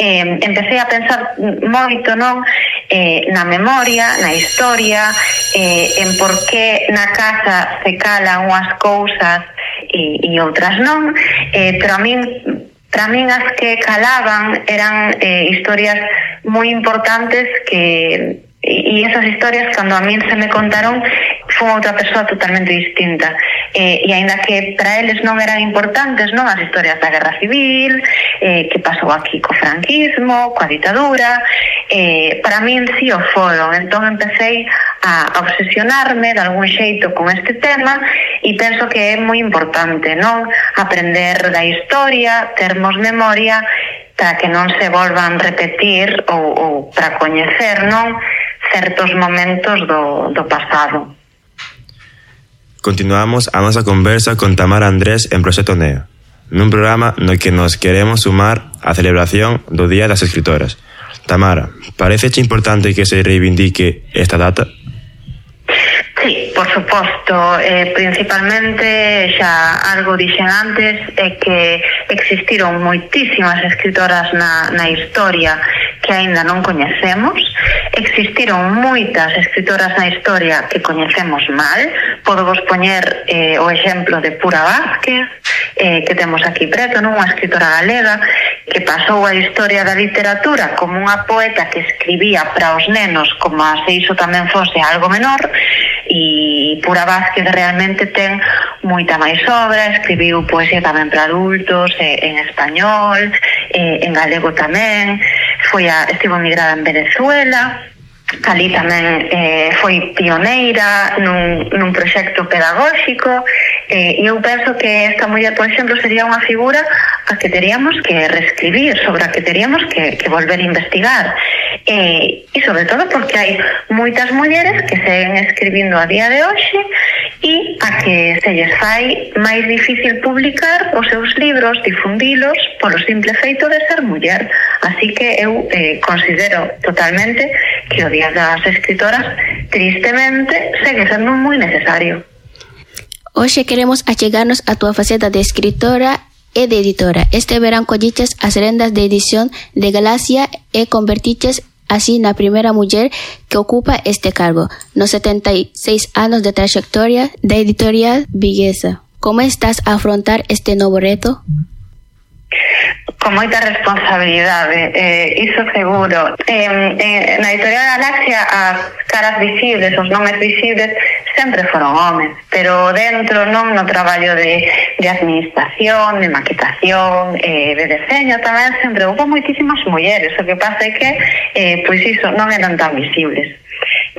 empecé a pensar moito, non, na memoria, na historia, en por que na casa se calan unhas cousas e outras non, pero para min as que calaban eran historias moi importantes e esas historias, cando a min se me contaron, foi outra persoa totalmente distinta, e aínda que para eles non eran importantes, non, as historias da Guerra Civil, que pasou aquí co franquismo, coa ditadura, para min sí o foron. Entón empecé a obsesionarme de algún xeito con este tema e penso que é moi importante, non, aprender da historia, termos memoria para que non se volvan repetir ou para coñecer, non, certos momentos do pasado. Continuamos a nosa conversa con Tamara Andrés en Proxecto Neo, nun programa no que nos queremos sumar á celebración do Día das Escritoras. Tamara, pareceche importante que se reivindique esta data? Sí, por suposto, principalmente xa algo dixen antes, é que existiron moitísimas escritoras na historia que aínda non coñecemos, existiron moitas escritoras na historia que coñecemos mal. Podo vos poñer o exemplo de Pura Vázquez, que temos aquí preto, non, unha escritora galega que pasou a historia da literatura como unha poeta que escribía para os nenos como se iso tamén fose algo menor, e Pura Vázquez realmente ten moita máis obra, escribiu poesía tamén para adultos, en español, en galego tamén, estivo emigrada en Venezuela, ali tamén foi pioneira nun proxecto pedagóxico, e eu penso que esta muller, por exemplo, sería unha figura a que teríamos que reescribir, sobre a que teríamos que volver a investigar, e sobre todo porque hai moitas mulleres que seguen escribindo a día de hoxe e a que se lles fai máis difícil publicar os seus libros, difundilos polo simple feito de ser muller. Así que eu considero totalmente que o Día das Escritoras, tristemente, segue sendo moi necesario. Hoxe queremos achegarnos a túa faceta de escritora e de editora. Este verán colliches as rendas de edición de Galaxia e convertiches así na primeira muller que ocupa este cargo, nos 76 anos de trayectoria da editorial viguesa. Como estás a afrontar este novo reto? Con moita responsabilidade, iso seguro. Na editorial Galaxia as caras visibles, os nomes visibles sempre foron homes, pero dentro non no traballo de administración, de maquetación, de deseño tamén sempre houve moitísimas mulleres. O que pasa é que pois iso non eran tan visibles.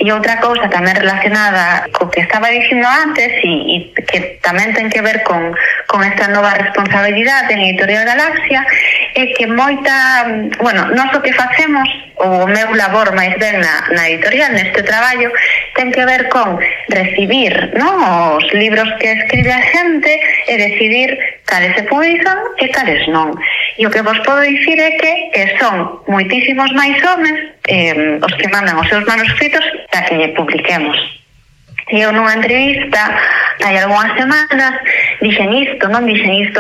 E outra cousa tamén relacionada co que estaba dicindo antes e que tamén ten que ver con esta nova responsabilidade en Editorial Galaxia é que nós o que facemos, o meu labor máis ben na editorial, neste traballo, ten que ver con recibir, non, os libros que escribe a xente e decidir cales se publican e cales non. E o que vos podo dicir é que son moitísimos máis homes os que mandan os seus manuscritos para que lle publiquemos. E eu nunha entrevista hai algunhas semanas dixen isto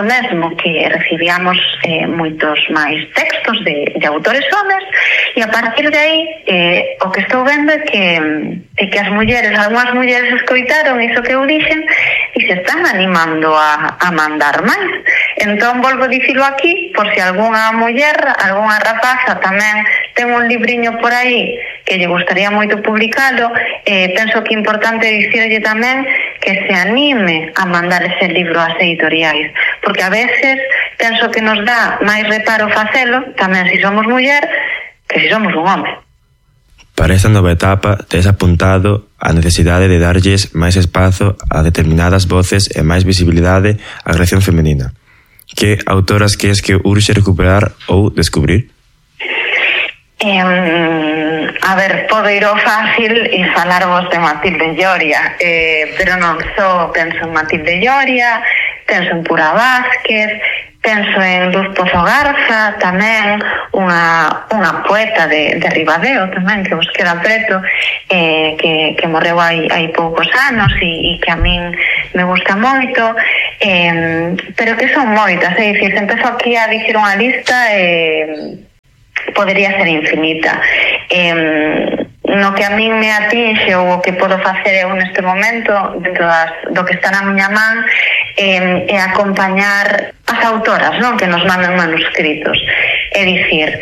mesmo, que recibíamos moitos máis textos de autores homes, e a partir de aí o que estou vendo é que as mulleres, algunhas mulleres escoitaron iso que eu dixen e se están animando a mandar máis. Entón volvo a dicilo aquí, por se algunha muller, algunha rapaza tamén ten un libriño por aí que lle gustaría moito publicalo, penso que é importante dicirlle tamén que se anime a mandar ese libro ás editoriais, porque a veces penso que nos dá máis reparo facelo, tamén se somos muller, que se somos un home. Para esta nova etapa, tes apuntado a necesidade de darlles máis espazo a determinadas voces e máis visibilidade á creación femenina. Que autoras que es que urxe recuperar ou descubrir? A ver, podo ir ao fácil e falarvos de Matilde Lloria, pero non só penso en Matilde Lloria, penso en Pura Vázquez, penso en Luz Pozo Garza, tamén unha poeta de Ribadeo tamén, que vos queda preto, que morreu hai poucos anos e que a min me gusta moito, pero que son moitas, é dicir, se empezo aquí a dicir unha lista podería ser infinita. No que a min me atinxe ou o que podo facer eu neste momento dentro do que está na miña man é acompañar as autoras, non, que nos mandan manuscritos. É dicir,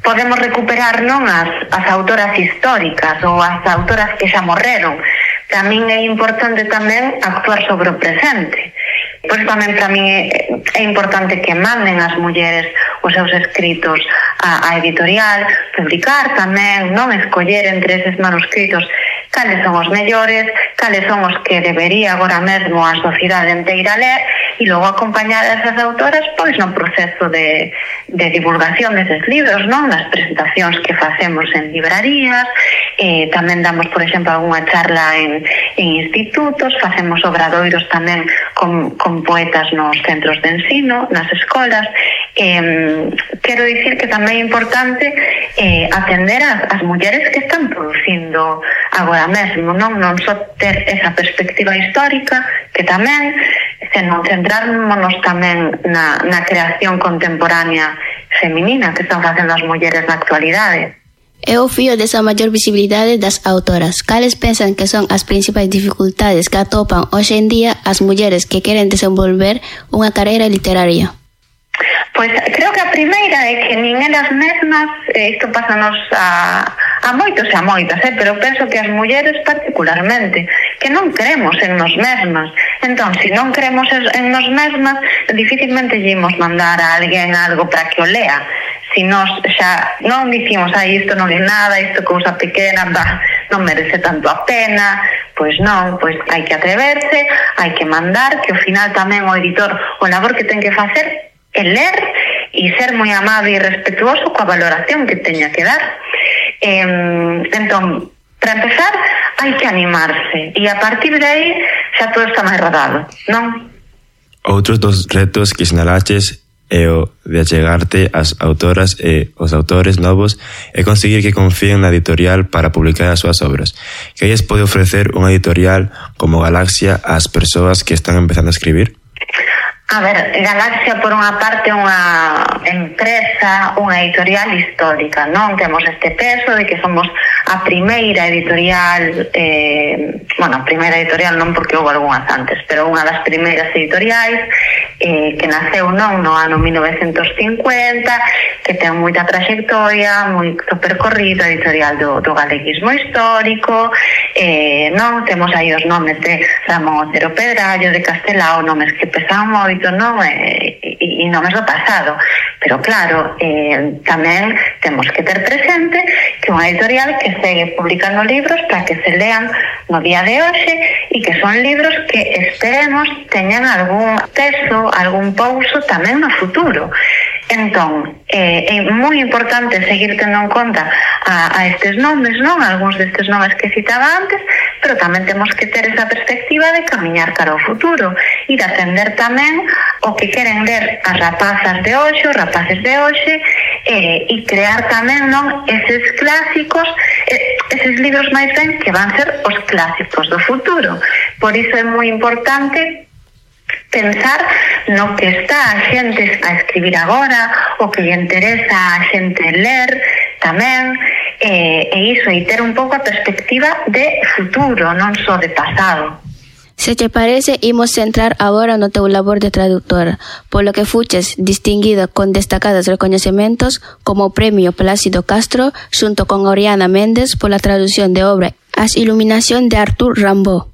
podemos recuperar non as autoras históricas ou as autoras que xa morreron. Para min é importante tamén actuar sobre o presente. Pois tamén para min é importante que manden as mulleres os seus escritos á editorial, publicar tamén, non, escoller entre eses manuscritos cales son os mellores, cales son os que debería agora mesmo a sociedade inteira ler, e logo acompañar a esas autoras pois no proceso de divulgación deses libros, non, nas presentacións que facemos en librarías, tamén damos, por exemplo, algunha charla en institutos, facemos obradoiros tamén con poetas nos centros de ensino, nas escolas. Quero dicir que tamén é importante atender as mulleres que están producindo agora mesmo, non só ter esa perspectiva histórica, que tamén, senón centrarnos tamén na creación contemporánea feminina que están facendo as mulleres na actualidade. É o fío desa maior visibilidade das autoras. Cales pensan que son as principais dificultades que atopan hoxe en día as mulleres que queren desenvolver unha carreira literaria? Pois creo que a primeira é que nin elas mesmas, isto pásanos a moitos e a moitas, pero penso que as mulleres particularmente, que non creemos en nos mesmas. Entón, se non creemos en nos mesmas, dificilmente lleimos mandar a alguén algo para que o lea. Se nós xa non dicimos, isto non é nada, isto cousa pequena, non merece tanto a pena, pois non, pois hai que atreverse, hai que mandar, que ao final tamén o editor, o labor que ten que facer é ler e ser moi amable e respetuoso coa valoración que teña que dar. Entón, para empezar, hai que animarse e a partir de aí xa todo está máis rodado, non? Outros dos retos que sinalaches é o de achegarte ás autoras e os autores novos e conseguir que confíen na editorial para publicar as súas obras. Que lles pode ofrecer unha editorial como Galaxia ás persoas que están empezando a escribir? A ver, Galaxia, por unha parte, é unha empresa, unha editorial histórica, non? Temos este peso de que somos a primeira editorial, a primeira editorial non porque houve algunhas antes, pero unha das primeiras editoriais que naceu non no ano 1950, que ten moita traxectoria, moito percorrido, editorial do galeguismo histórico, non? Temos aí os nomes de Ramón Otero Pedrallo, de Castelao, nomes que pesan moito, non? E nomes do pasado, pero claro, tamén temos que ter presente que unha editorial que segue publicando libros para que se lean no día de hoxe e que son libros que esperemos teñan algún peso, algún pouso tamén no futuro. Entón, é moi importante seguir tendo en conta a estes nomes, non? Algúns destes nomes que citaba antes, pero tamén temos que ter esa perspectiva de camiñar cara ao futuro e de atender tamén o que queren ler as rapazas de hoxe, os rapaces de hoxe, e crear tamén, non, eses clásicos, eses libros máis ben que van ser os clásicos do futuro. Por iso é moi importante pensar no que está a xente a escribir agora, o que lle interesa a xente ler tamén, e iso, e ter un pouco a perspectiva de futuro, non só de pasado. Se te parece, imos centrar agora no teu labor de traductora, polo que fuches distinguida con destacados recoñecementos como o Premio Plácido Castro xunto con Oriana Méndez pola tradución de obra As Iluminación de Arthur Rimbaud.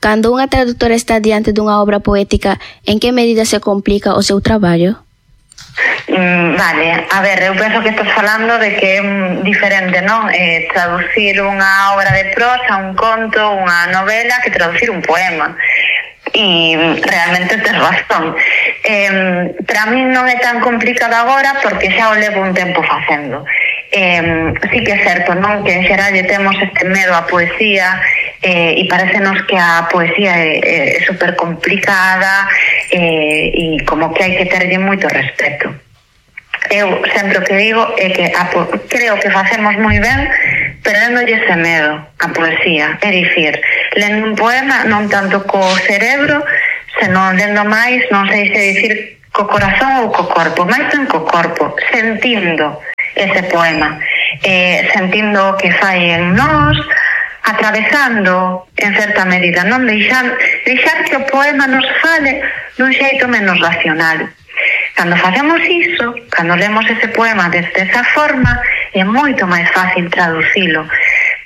Cando unha traductora está diante dunha obra poética, en que medida se complica o seu traballo? Vale, a ver, eu penso que estás falando de que é diferente, non? Traducir unha obra de prosa, un conto, unha novela, que traducir un poema. E realmente tes razón. Para mí non é tan complicado agora porque xa o levo un tempo facendo. Sí que é certo, non? Que en xeral temos este medo á poesía e parecenos que a poesía é super complicada e como que hai que terlle moito respeto. Eu sempre o que digo é que creo que facemos moi ben perdéndolle ese medo a poesía, é dicir, lendo un poema non tanto co cerebro, senón lendo máis, non sei se dicir co corazón ou co corpo, máis ben co corpo, sentindo ese poema, sentindo o que fai en nós, atravesando en certa medida, non deixar que o poema nos fale dun xeito menos racional. Cando facemos iso, cando lemos ese poema desde esa forma, é moito máis fácil traducilo,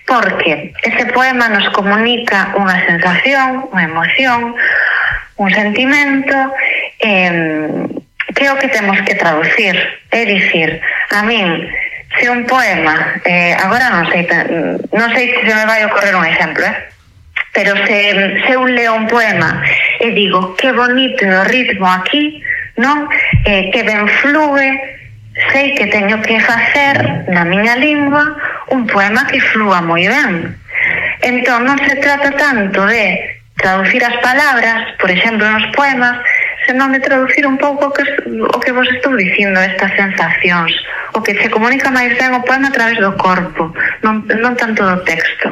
porque ese poema nos comunica unha sensación, unha emoción, un sentimento, que é o que temos que traducir. É dicir, a min, se un poema, agora non sei se me vai ocorrer un exemplo, pero se eu leo un poema e digo, que bonito é o ritmo aquí, non? Que ben flúe, sei que teño que facer na miña lingua un poema que flúa moi ben. Entón non se trata tanto de traducir as palabras, por exemplo, nos poemas, senón de traducir un pouco o que vos estou dicindo, estas sensacións, o que se comunica máis ben o poema a través do corpo, non tanto do texto.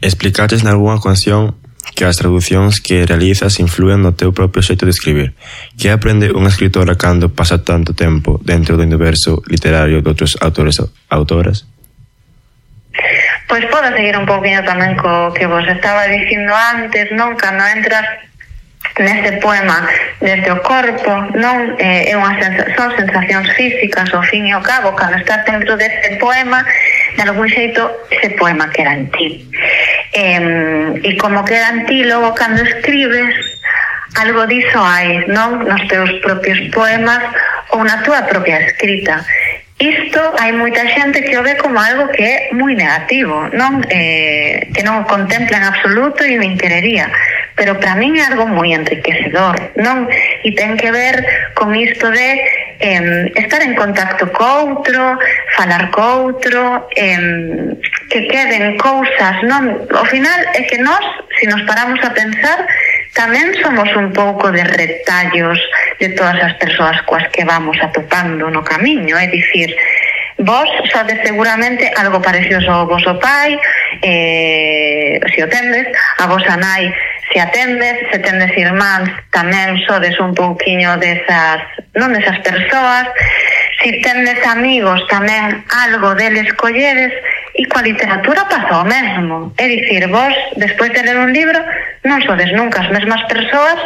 Explicaches nalgúna ocasión que as traducións que realizas influen no teu propio xeito de escribir. Que aprende unha escritora cando pasa tanto tempo dentro do universo literario de outros autores ou autoras? Pois podo seguir un pouquinho tamén co que vos estaba dicindo antes, non? Cando entras neste poema desde o corpo, non? Son sensacións físicas, ao fin e ao cabo, cando estás dentro deste poema, de algún xeito ese poema queda en ti. E como queda en ti, logo cando escribes, algo diso hai, non? Nos teus propios poemas ou na túa propia escrita. Isto hai moita xente que o ve como algo que é moi negativo, non? Que non o contempla en absoluto e nin querería, pero para min é algo moi enriquecedor, non? E ten que ver con isto de estar en contacto co outro, falar co outro, que queden cousas, non? Ao final é que nós, se nos paramos a pensar, tamén somos un pouco de retallos de todas as persoas coas que vamos atopando no camiño, é dicir, vos sodes seguramente algo parecido ao voso pai, se o tendes, a vosa nai se atendes, se tendes irmáns tamén sodes un pouquiño desas persoas, se tendes amigos tamén algo deles colledes, e coa literatura pasa o mesmo, é dicir, vos despois de ler un libro non sodes nunca as mesmas persoas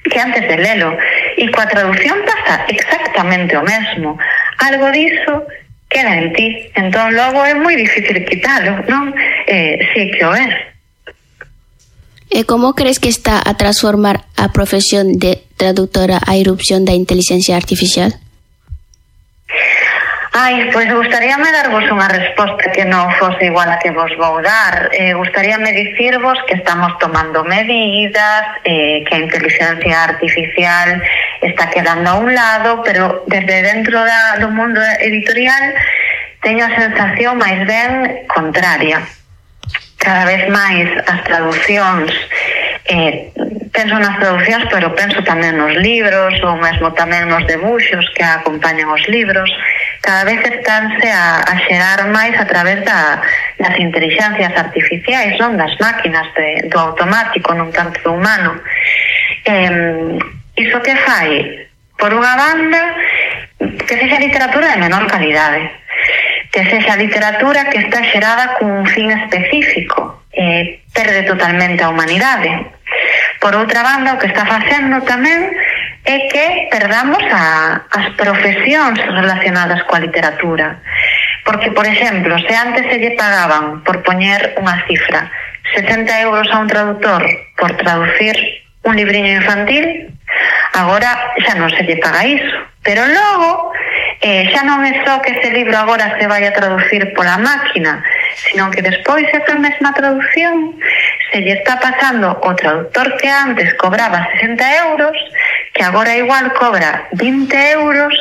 que antes de lelo, e coa traducción pasa exactamente o mesmo, algo diso queda en ti, entón logo é moi difícil quitalo, non? Si que o é. E como crees que está a transformar a profesión de traductora a irrupción da inteligencia artificial? Pois gustaríame darvos unha resposta que non fose igual a que vos vou dar. Gustaríame dicirvos que estamos tomando medidas, que a inteligencia artificial está quedando a un lado, pero desde dentro do mundo editorial teño a sensación máis ben contraria. Cada vez máis as traducións, penso nas traducións, pero penso tamén nos libros, ou mesmo tamén nos debuxos que acompañan os libros, cada vez estánse a xerar máis a través das inteligencias artificiais, non? Das máquinas, do automático, non tanto do humano. Iso que fai, por unha banda, que sexa literatura de menor calidade, que sexa literatura que está xerada cun fin específico, perde totalmente a humanidade. Por outra banda, o que está facendo tamén é que perdamos as profesións relacionadas coa literatura. Porque, por exemplo, se antes se lle pagaban, por poñer unha cifra, 60 euros a un traductor por traducir un libriño infantil, agora xa non se lle paga iso. Pero logo, xa non é só que ese libro agora se vai a traducir pola máquina, sino que despois esa mesma traducción se lle está pasando o traductor que antes cobraba 60 euros, que agora igual cobra 20 euros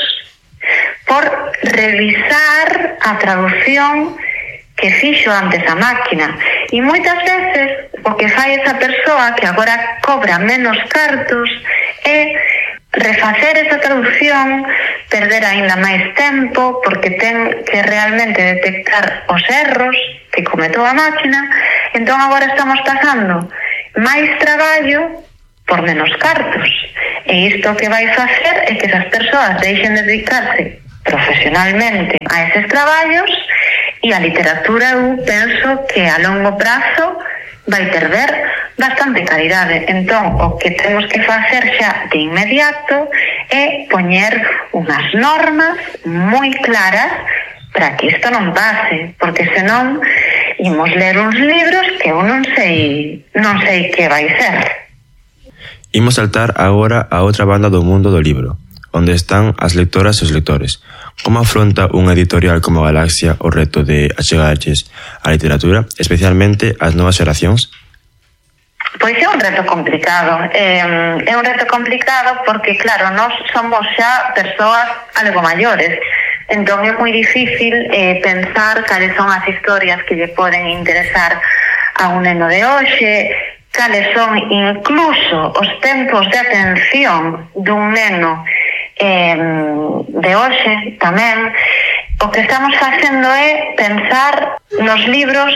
por revisar a traducción que fixo antes a máquina. E moitas veces o que fai esa persoa que agora cobra menos cartos é refacer esa traducción, perder aínda máis tempo, porque ten que realmente detectar os erros que cometou a máquina. Entón agora estamos pasando máis traballo por menos cartos. E isto que vai facer é que esas persoas deixen de dedicarse profesionalmente a eses traballos, e a literatura eu penso que a longo prazo vai perder bastante calidade. Entón, o que temos que facer xa de inmediato é poñer unhas normas moi claras para que isto non pase, porque senón imos ler uns libros que eu non sei que vai ser. Imos saltar agora a outra banda do mundo do libro, onde están as lectoras e os lectores. Como afronta unha editorial como Galaxia o reto de achegarlles a literatura, especialmente ás novas xeracións? Pois é un reto complicado. É un reto complicado porque, claro, nós somos xa persoas algo maiores. Entón é moi difícil pensar cales son as historias que lle poden interesar a un neno de hoxe, cales son incluso os tempos de atención dun neno de hoxe tamén. O que estamos facendo é pensar nos libros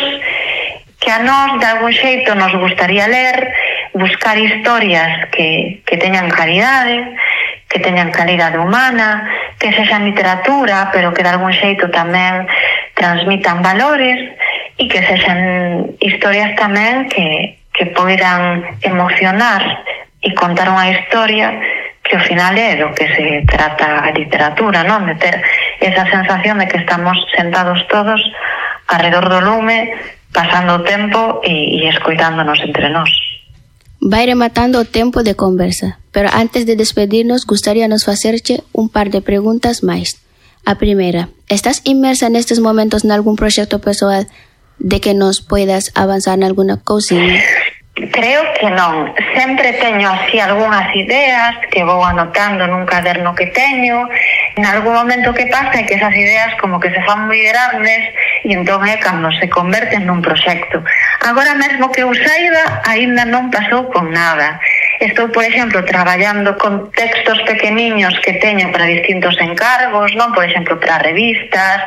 que a nós de algún xeito nos gustaría ler, buscar historias que teñan calidade, que teñan calidade humana, que sexan literatura, pero que de algún xeito tamén transmitan valores e que sexan historias tamén que poidan emocionar e contar unha historia que ao final é do que se trata a literatura, non? De ter esa sensación de que estamos sentados todos alrededor do lume, pasando o tempo e escoitándonos entre nós. Vai rematando o tempo de conversa, pero antes de despedirnos, gustaríanos facerche un par de preguntas máis. A primeira, estás inmersa nestes momentos nalgún proxecto persoal de que nos poidas avanzar nalguna cousiña? Creo que non. Sempre teño así algunhas ideas que vou anotando nun caderno que teño. En algún momento que pasa é que esas ideas como que se fan moi grandes e entón é cando se converten nun proxecto. Agora mesmo que eu saiba, aínda non pasou con nada. Estou, por exemplo, traballando con textos pequeniños que teño para distintos encargos, non? Por exemplo, para revistas,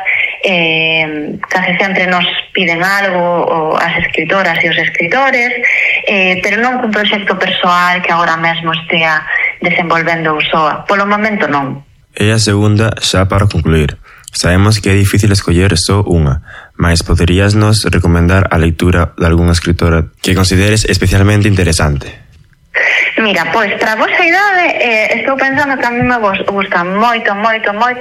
case sempre nos piden algo as escritoras e os escritores, pero non cun proxecto persoal que agora mesmo estea desenvolvendo o SOA. Polo momento non. E a segunda, xa para concluir. Sabemos que é difícil escoller só unha, mas poderíasnos recomendar a lectura de algunha escritora que consideres especialmente interesante? Mira, pois, para a vosa idade, estou pensando que a mí me gusta moito,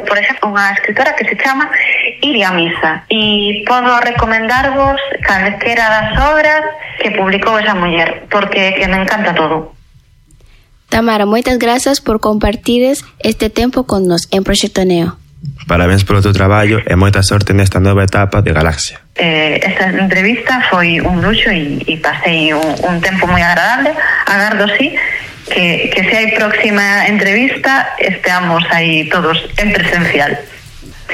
por exemplo, unha escritora que se chama Iria Misa, e podo recomendarvos calquera das obras que publicou esa muller, porque que me encanta todo. Tamara, moitas grazas por compartires este tempo con nos en Proxecto Neo. Parabéns polo teu traballo e moita sorte nesta nova etapa de Galaxia. Esta entrevista foi un luxo e pasei un tempo moi agradable. Agardo, sí, que se hai próxima entrevista esteamos aí todos en presencial.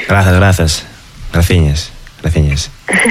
Gracias. Graciñas.